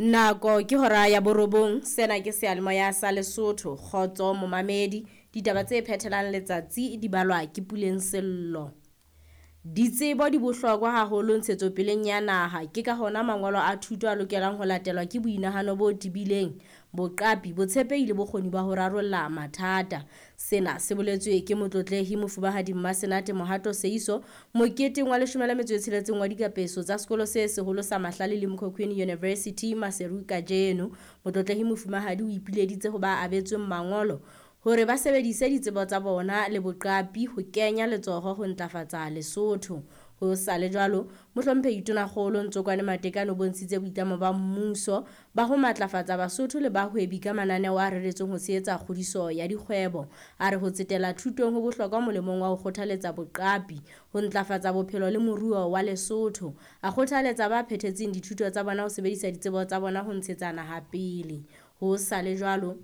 Nako ke hora ya borobong, sena ke seyalemoya sa Lesotho. Kgotso momamedi, ditaba tse phethelang letsatsi di balwa ke Puleng Sello. Ditsebo di bohlokwa haholo ntshetsopeleng ya naha, ke ka hona mangolo a thuto a lokelang ho latelwa ke boinahano bo tebileng, boqapi, botshepehi le bokgoni ba ho rarolla mathata. Sena se boletswe ke Motlotlehi Mofumahadi Mmasenate Mohato Seiso moketeng wa 16 wa dikapeso tsa sekolo se seholo sa Mahlale le Mkhokhweni University Maseru kajeno. Motlotlehi Mofumahadi o ipileditse ho ba abetsweng mangolo hore ba sebedise ditsebo tsa bona le boqapi ho kenya letsoho ho ntlafatsa Lesotho. Ho sa le jwalo, Mohlomphehi Tonakgolo Ntsokwane Matekane o bontshitse boitlamo ba mmuso ba ho matlafatsa Basotho le bahwebi ka mananeo a reretsweng ho tshehetsa kgodiso ya dikgwebo. A re ho tsetela thutong ho bohlokwa molemong wa ho kgothaletsa boqapi, ho ntlafatsa bophelo le moruo wa Lesotho. A kgothaletsa ba phethetseng dithuto tsa bona ho sebedisa ditsebo tsa bona ho ntshetsa naha pele. Ho sa le jwalo,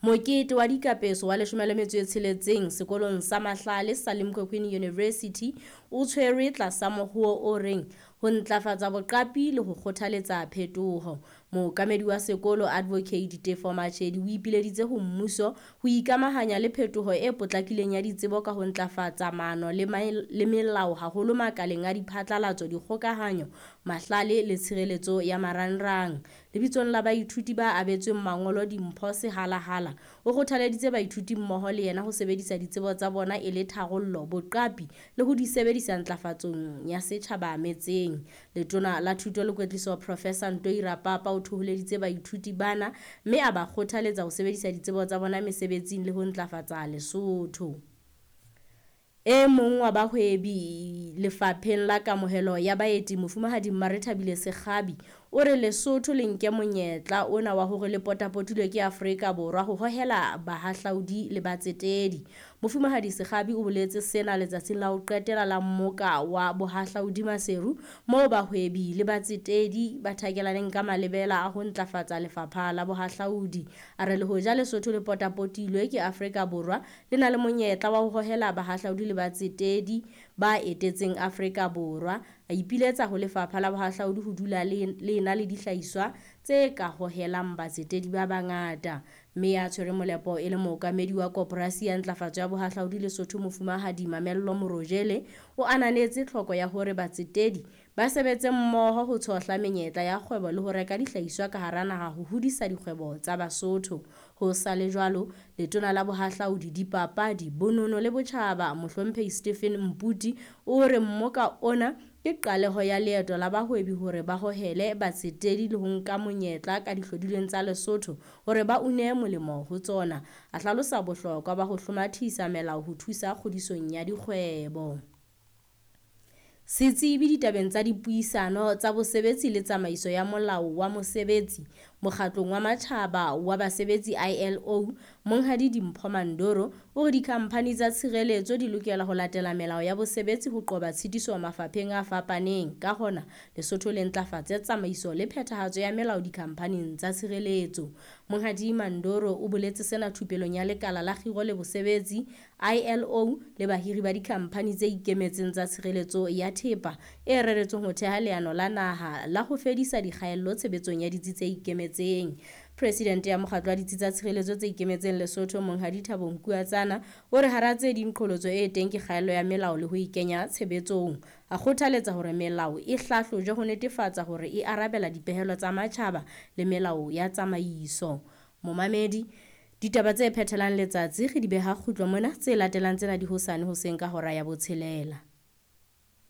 mokete wa dikapeso wa 16 sekolong sa Mahlale sa Limkokwing University o tshwerwe tlasa mohoo o reng ho ntlafatsa boqapi le ho kgothaletsa phetoho. Mookamedi wa sekolo Advocate Tefo Machedi o ipileditse ho mmuso ho ikamahanya le phetoho e potlakileng ya ditsebo ka ho ntlafatsa maano le melao haholo makaleng a diphatlalatso, dikgokahanyo, mahlale le tshireletso ya marangrang. Lebitsong la baithuti ba abetsweng mangolo dimpho Sehalahala, o kgothaleditse baithuti mmoho le yena ho sebedisa ditsebo tsa bona e le tharollo, boqapi le ho di sebedisa ntlafatsong ya setjhaba metseng. Letona la Thuto le Kwetliso Professor Ntoi Rapapa o thoholeditse baithuti bana mme a ba kgothaletsa ho sebedisa ditsebo tsa bona mesebetsing le ho ntlafatsa Lesotho. E mong wa bahwebi lefapheng la kamohelo ya baeti Mofumahadi Mmarethabile Sekgabi o re Lesotho le nke monyetla ona wa hore le potapotilwe ke Afrika Borwa ho hohela bahahlaudi le batsetedi. Mofumahadi Sekgabi o boletse sena letsatsing la ho qetela la mmoka wa bohahlaudi Maseru moo bahwebi le batsetedi ba thakelaneng ka malebela a ho ntlafatsa lefapha la bohahlaudi. A re le hoja Lesotho le potapotilwe ke Afrika Borwa le na le monyetla wa ho hohela bahahlaudi le batsetedi ba etetseng Afrika Borwa. A ipiletsa ho lefapha la bohahlaudi ho dula le ena le dihlahiswa tse ka hohelang batsetedi ba bangata. Mme ya tshwere molepo e le mookamedi wa koporasi ya ntlafatso ya bohahlaudi Lesotho Mofumahadi Mamello Morojele o ananetse tlhoko ya hore batsetedi ba sebetse mmoho ho tshohla menyetla ya kgwebo le ho reka dihlahiswa ka hara naha ho hodisa dikgwebo tsa Basotho. Ho sa le jwalo, letona la bohahlaudi, dipapadi, bonono le botjhaba Mohlomphehi Stephen Mputi o re mmoka ona ke qaleho ya leeto la bahwebi hore ba hohele batsetedi le ho nka monyetla ka dihlodilweng tsa Lesotho hore ba une molemo ho tsona. A hlalosa bohlokwa ba ho hlomathisa melao ho thusa kgodisong ya dikgwebo. Setsebi ditabeng tsa dipuisano tsa bosebetsi le tsamaiso ya molao wa mosebetsi mokgatlong wa matjhaba wa basebetsi ILO, Monghadi Dimpho Mandoro o re dikhamphani tsa tshireletso di lokela ho latela melao ya bosebetsi ho qoba tshitiso mafapheng a fapaneng. Ka hona, Lesotho le ntlafatse tsamaiso le phethahatso ya melao dikhamphaning tsa tshireletso. Monghadi Mandoro o boletse sena thupelong ya lekala la kgiro le bosebetsi ILO le bahiri ba dikhamphani tse ikemetseng tsa tshireletso ya thepa e reretsweng ho theha leano la naha la ho fedisa dikgaello tshebetsong ya ditsi tse ikemetseng. Presidente ya mokgatlo wa ditsi tsa tshireletso tse ikemetseng Lesotho Monghadi Thabo Nkuatsana o re hara tse ding qholotso e teng ke kgaello ya melao le ho e kenya tshebetsong. A kgothaletsa hore melao e hlahlojwe ho netefatsa hore e arabela dipehelo tsa matjhaba le melao ya tsamaiso. Momamedi, ditaba tse phethelang letsatsi re di beha kgutlo mona, tse latelang tsena di hosane hoseng ka hora ya 6.